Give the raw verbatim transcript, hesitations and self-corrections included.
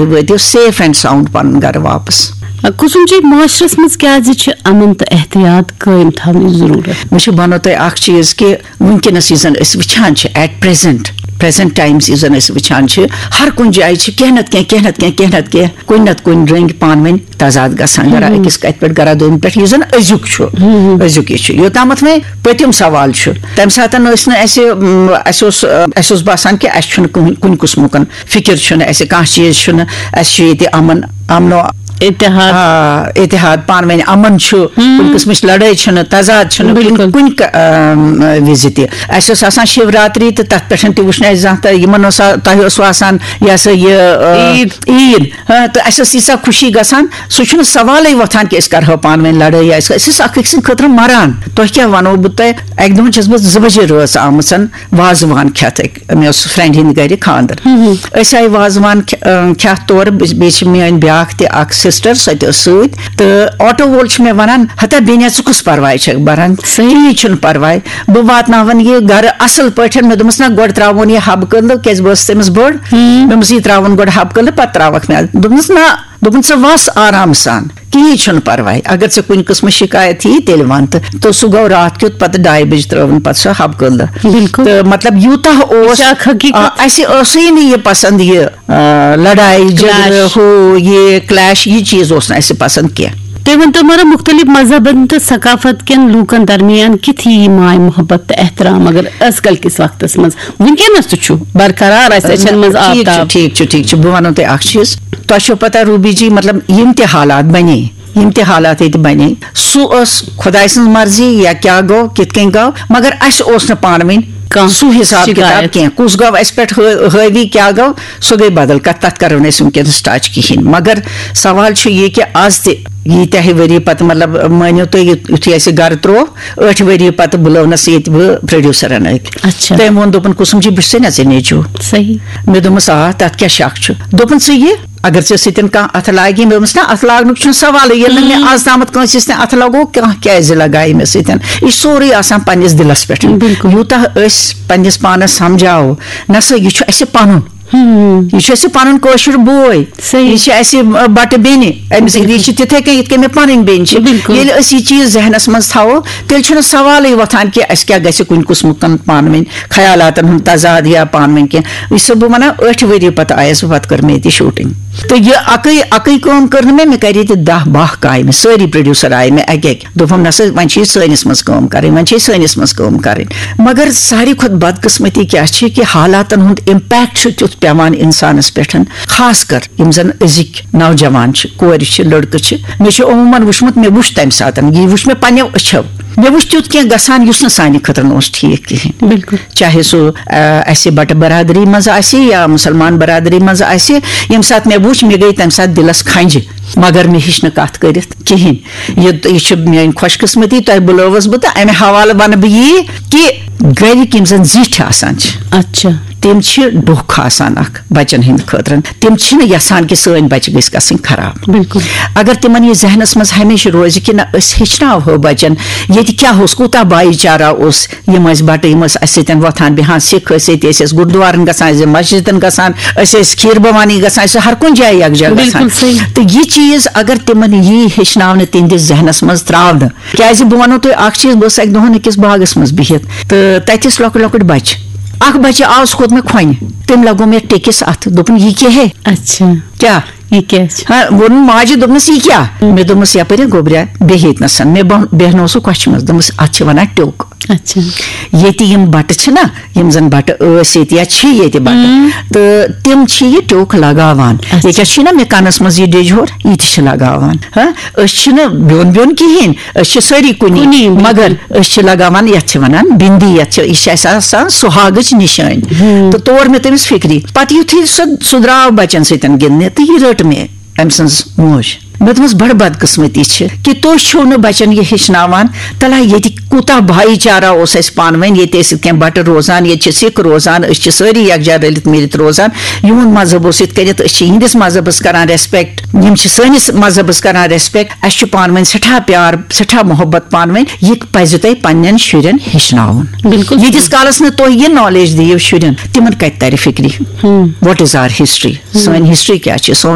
وٲتِو safe and sound پنُن گرٕ واپس۔ کُسُم چھُ معاشرس منٛز کیازِ چھِ امن تہٕ احتیاط قٲیِم تھاونٕچ ضروٗرت؟ مےٚ چھُ ونو تۄہہِ اکھ چیٖز کہِ وٕنکیٚنس یُس زن أسۍ وٕچھان چھِ at present، present times یُس زن أسۍ وٕچھان چھِ، ہر کُنہِ جایہِ چھِ کینٛہہ نتہٕ کینٛہہ، کینٛہہ نتہٕ کینٛہہ، کینٛہہ نتہٕ کُنہِ رٔنٛگۍ پانہٕ ؤنۍ تضاد گژھان، گرا أکِس کتھِ پٮ۪ٹھ گرا دوٚیمہِ پٮ۪ٹھ، یُس زن أزیُک چھُ، أزیُک یہِ چھُ۔ یوٚتامتھ وۄنۍ پٔتِم سوال چھُ، تمہِ ساتہٕ ٲسۍ نہٕ اَسہِ، م، اَسہِ اوس، اَسہِ اوس باسان کہِ اَسہِ چھُنہٕ کٕہٕنۍ، کُنہِ قٕسمُک فکر چھُنہٕ اَسہِ، کانٛہہ چیٖز چھُنہٕ، اَسہِ چھُ ییٚتہِ امن، امن و اتحاد۔ آ، اتحاد، پانہٕ ؤنۍ امن چھُ، کُنہِ قٕسمٕچ لڑٲے چھُنہٕ، تضاد چھُنہٕ کُنہِ، کُنہِ ک-، ام، وِزِ تہِ۔ اَسہِ اوس آسان شِوراتری تہٕ تَتھ پٮ۪ٹھ تہِ وٕچھ نہٕ اَسہِ زانٛہہ تہٕ یِمن اوس آ-، تۄہہِ اوس آسان یہِ ہسا یہِ، آ، عیٖد۔ عیٖد۔ ہاں، تہٕ اَسہِ ٲس ییٖژاہ خوشی گژھان، سُہ چھُنہٕ سوالٕے وۄتھان کہِ أسۍ کَرہو پانہٕ ؤنۍ لڑٲے۔ أسۍ، أسۍ ٲسۍ اکھ أکۍ سٕنٛدِ خٲطرٕ مَران۔ تۄہہِ کیٛاہ وَنو بہٕ تۄہہِ؟ اَکہِ دۄہ چھَس بہٕ زٕ بجے رٲژ آمٕژ وازوان کھٮ۪تھ۔ أکۍ، مےٚ اوس friend ہِنٛدِ گرِ خانٛدر۔ أسۍ آیہِ وازوان کھے-، اۭں، کھٮ۪تھ تورٕ۔ بہٕ، بیٚیہِ چھِ میٛٲنۍ بیٛاکھ تہِ اکھ sister، سۄ تہِ ٲس سۭتۍ۔ تہٕ آٹو وول چھُ مےٚ وَنان، "ہتا بیٚنہِ، ژٕ کُس پرواے چھَکھ بَران؟ صحیح۔ کِہیٖنۍ چھُنہٕ پرواے۔ بہٕ واتناوَن یہِ گرٕ اَصٕل پٲٹھۍ۔" مےٚ دوٚپمَس، "نہ، گۄڈٕ ترٛاوون یہِ حبہٕ کٔدلہٕ، کیٛازِ بہٕ ٲسٕس تٔمِس بٔڑ۔" مےٚ دوٚپمَس، "یہِ ترٛاوُن گۄڈٕ حبہٕ کٔدلہٕ، پَتہٕ ترٛاوَکھ مےٚ۔" دوٚپمَس، "نہ۔" دوٚپُن، "ژٕ وَس آرام سان، کِہیٖنۍ چھُنہٕ پَرواے۔ اگر ژےٚ کُنہِ قٕسمٕچ شِکایت یی، تیٚلہِ وَن۔" تہٕ، تہٕ سُہ گوٚو راتھ کیُتھ، پَتہٕ ڈاے بَجہِ ترٛٲوٕن پَتہٕ سۄ حبہٕ کٔدلہٕ۔ بِلکُل۔ تہٕ مطلب، یوٗتاہ اوس، یہِ چھِ اکھ حقیٖقت۔ آ، اَسہِ ٲسٕے نہٕ یہِ پَسنٛد، یہِ، آ، لڑایہِ جھگڑٕ، clash۔ ہُہ یہِ clash، یہِ چیٖز اوس نہٕ اَسہِ پَسنٛد کینٛہہ۔ تُہۍ ؤنۍ تو مگر، مُختٔلِف مذہبن تہٕ ثقافت کٮ۪ن لوٗکن درمیان کِتھ یی یہِ ماے محبت تہٕ احترام، اگر ازکل کِس وقتس منٛز، وٕنکیٚنس تہِ چھُ برقرار اَسہِ أچھن منٛز ٹھیٖک چھُ، آفتاب؟ ٹھیٖک چھُ، ٹھیٖک چھُ۔ بہٕ وَنو تۄہہِ اکھ چیٖز۔ تۄہہِ چھو پتہ روبی جی، مطلب، یِم تہِ حالات بنے، یِم تہِ حالات ییٚتہِ بنے، سُہ ٲس خۄداے سٕنٛز مرضی یا کیٛاہ گوٚو، کِتھ کٔنۍ گوٚو، مگر اَسہِ اوس نہٕ پانہٕ ؤنۍ کانٛہہ سُہ حساب کِتاب شِکایت۔ کینٛہہ۔ کُس گوٚو اَسہِ پٮ۪ٹھ ہٲ-، حٲوی، کیٛاہ گوٚو، سُہ گٔے بدل کَتھ، تَتھ کَرو نہٕ أسۍ وٕنکیٚنَس touch کِہیٖنۍ۔ مگر سوال چھُ یہِ کہِ آز تہِ ییٖتیٛاہ ؤری پَتہٕ، مطلب، مٲنِو تُہۍ، یُتھ-، یُتھُے اَسہِ گَرٕ ترٛوو، ٲٹھِ ؤری پَتہٕ بُلٲونَس ییٚتہِ بہٕ producerَن أکۍ۔ اچھا۔ تٔمۍ ووٚن، دوٚپُن، "کُسُم جی، بہٕ چھُسے نا ژےٚ نیٚچوٗ۔" صحیح۔ مےٚ دوٚپمَس، "آ، تَتھ کیٛاہ شَک چھُ؟" دوٚپُن، "ژٕ یہِ، اگر ژےٚ سۭتۍ کانٛہہ اَتھٕ لاگی۔" مےٚ دوٚپمَس، "نہ، اَتھٕ لاگنُک چھُنہٕ سوالٕے، ییٚلہِ نہٕ مےٚ آز تامَتھ کٲنٛسہِ سۭتۍ اَتھٕ لَگوو، کانٛہہ کیٛازِ لَگایہِ مےٚ سۭتۍ؟" یہِ چھُ سورُے آسان پنٛنِس دِلَس پٮ۪ٹھ۔ بِلکُل۔ یوٗتاہ أسۍ پنٛنِس پانَس سَمجھاوو، نہ سا، یہِ چھُ اَسہِ پَنُن۔ یہِ چھُ اَسہِ پَنُن کٲشُر بوے۔ صحیح۔ یہِ چھِ اَسہِ، آ، بَٹہٕ بیٚنہِ۔ أمِس، یہِ چھِ تِتھَے کٔنۍ یِتھ کٔنۍ مےٚ پَنٕنۍ بیٚنہِ چھِ۔ بِلکُل۔ ییٚلہِ أسۍ یہِ چیٖز ذہنَس منٛز تھاوو، تیٚلہِ چھُنہٕ سوالٕے وۄتھان کہِ اَسہِ کیٛاہ گژھِ کُنہِ قٕسمُک پانہٕ ؤنۍ خیالاتَن ہُنٛد تضاد یا پانہٕ ؤنۍ کینٛہہ۔ یہِ چھَسو بہٕ وَنان، ٲٹھِ ؤری پَتہٕ آیَس بہٕ، پَتہٕ کٔر مےٚ ییٚتہِ shooting۔ تہٕ یہِ اَکٕے، اَکٕے کٲم کٔر نہٕ مےٚ، مےٚ کَرِ ییٚتہِ دَہ باہ کامہِ، سٲری producer آیہِ مےٚ اَکہِ اَکہِ۔ دوٚپُن، "نہ سا، وۄنۍ چھِ یہِ سٲنِس منٛز کٲم کَرٕنۍ، وۄنۍ چھِ یہِ سٲنِس منٛز کٲم کَرٕنۍ۔" مگر ساروی کھۄتہٕ بدقٕسمتی کیٛاہ چھِ کہِ حالاتَن ہُنٛد impact چھُ تیُتھ پٮ۪وان اِنسانَس پٮ۪ٹھ، خاص کر یِم زَن أزِکۍ نوجوان چھِ، کورِ چھِ، لٔڑکہٕ چھِ۔ مےٚ چھُ عموٗماً وٕچھمُت، مےٚ وٕچھ تَمہِ ساتَن، یہِ وٕچھ مےٚ پنٛنیو أچھو۔ مےٚ وٕچھ تیُتھ کینٛہہ گژھان، یُس نہٕ سانہِ خٲطرٕ نہٕ اوس ٹھیٖک کِہیٖنۍ۔ بِلکُل۔ چاہے سُہ، آ، اَسہِ بَٹہٕ برادری منٛز آسہِ یا مُسلمان برادری منٛز آسہِ، ییٚمہِ ساتہٕ مےٚ وٕچھ، مےٚ گٔے تَمہِ ساتہٕ دِلَس کھَنٛجہِ، مگر مےٚ ہیٚچھ نہٕ کَتھ کٔرِتھ کِہیٖنۍ۔ یہِ، یہِ چھِ میٛٲنۍ خۄش قٕسمتی، تۄہہِ بُلٲوٕس بہٕ، تہٕ اَمہِ حوالہٕ وَنہٕ بہٕ یی کہِ گَرِکۍ یِم زَن زِٹھۍ آسان چھِ، اچھا۔ تِم چھِ ڈوکھ آسان اَکھ بَچَن ہِنٛدِ خٲطرٕ۔ تِم چھِنہٕ یَژھان کہِ سٲنۍ بَچہِ گٔژھۍ گژھٕنۍ خراب۔ بِلکُل۔ اگر تِمَن یہِ ذہنَس منٛز ہمیشہِ روزِ کہِ نہ، أسۍ ہیٚچھناوہو بَچَن، ییٚتہِ کیٛاہ اوس، کوٗتاہ بھایی چارہ اوس، یِم ٲسۍ بَٹہٕ، یِم ٲسۍ اَسہِ سۭتۍ وۄتھان بیٚہان، سِکھ ٲسۍ، ییٚتہِ ٲسۍ أسۍ گُردوارَن گژھان، أسۍ ٲسۍ مسجدَن گژھان، أسۍ ٲسۍ کھیٖر بھوانی گژھان، أسۍ ٲسۍ ہر کُنہِ جایہِ یَکجاہ بِلکُل گژھان۔ صحیح۔ تہٕ یہِ چیٖز اگر تِمَن یی ہیٚچھناونہٕ تِہنٛدِس ذہنَس منٛز ترٛاونہٕ، کیٛازِ بہٕ وَنو تۄہہِ اَکھ چیٖز، بہٕ ٲسٕس اَکہِ دۄہَن أکِس باغَس منٛز بِہِتھ تہٕ تَتہِ ٲسۍ لۄکٕٹۍ لۄکٕٹۍ بَچہٕ۔ اَکھ بَچہٕ آو، سُہ کھوٚت مےٚ کھۄنہِ، تٔمۍ لَگوو مےٚ ٹیٚکِس اَتھٕ، دوٚپُن، "یہِ کیٛاہ ہے؟" اچھا۔ کیٛاہ؟ یہِ کیٛاہ چھُ؟ ہاں، ووٚنُن ماجہِ، دوٚپنَس، "یہِ کیٛاہ؟" مےٚ دوٚپمَس، "یَپٲرۍ ہا گوٚبریا، بیٚہہِ ییٚتہِ نَسَن۔" مےٚ بہ-، بیٚہنوو سُہ کۄچھِ منٛز، دوٚپمَس، "اَتھ چھِ وَنان ٹیوٚک۔" اچھا۔ ییٚتہِ یِم بَٹہٕ چھِنہ، یِم زَن بَٹہٕ ٲسۍ ییٚتہِ یا چھِ ییٚتہِ بَٹہٕ، تہٕ تِم چھِ یہِ ٹیوٚک لَگاوان۔ اچھا۔ ییٚکیٛاہ چھِنہ مےٚ کَنَس منٛز یہِ ڈیٚجہِ ہور، یہِ تہِ چھِ لَگاوان۔ ہاں، أسۍ چھِنہٕ بیوٚن بیوٚن کِہیٖنۍ، أسۍ چھِ سٲری کُنی، کُنی، بِلکُل۔ مگر أسۍ چھِ لَگاوان، یَتھ چھِ وَنان بِندی، یَتھ چھِ، یہِ چھِ اَسہِ آسان سُہاگٕچ نِشٲنۍ۔ تہٕ تور مےٚ تٔمِس فِکری۔ پَتہٕ یُتھُے سُہ، سُہ درٛاو بَچَن سۭتۍ گِنٛدنہِ، تہٕ یہِ رٔٹ مےٚ أمۍ سٕنٛز موج۔ مےٚ دوٚپمَس، بَڑٕ بدقٕسمتی چھِ کہِ تُہۍ چھِو نہٕ بَچَن یہِ ہیٚچھناوان۔ تَلہ ییٚتہِ کوٗتاہ بھایی چارہ اوس اَسہِ پانہٕ ؤنۍ، ییٚتہِ ٲسۍ یِتھ کٔنۍ بَٹہٕ روزان، ییٚتہِ چھِ سِکھ روزان، أسۍ چھِ سٲری یَکجاہ رٔلِتھ میٖلِتھ روزان۔ یِہُنٛد مذہب اوس یِتھ کٔنٮ۪تھ، أسۍ چھِ یِہِنٛدِس مذہبَس کَران ریسپیکٹ، یِم چھِ سٲنِس مذہبَس کَران ریسپیکٹ۔ اَسہِ چھُ پانہٕ ؤنۍ سٮ۪ٹھاہ پیار، سٮ۪ٹھاہ محبت پانہٕ ؤنۍ۔ یہِ پَزِ تۄہہِ پنٛنٮ۪ن شُرٮ۪ن ہیٚچھناوُن۔ بِلکُل۔ ییٖتِس کالَس نہٕ تُہۍ یہِ نالیج دِیِو شُرٮ۪ن، تِمَن کَتہِ تَرِ فِکرِ؟ What is our history؟ سٲنۍ ہسٹری کیٛاہ چھِ؟ سون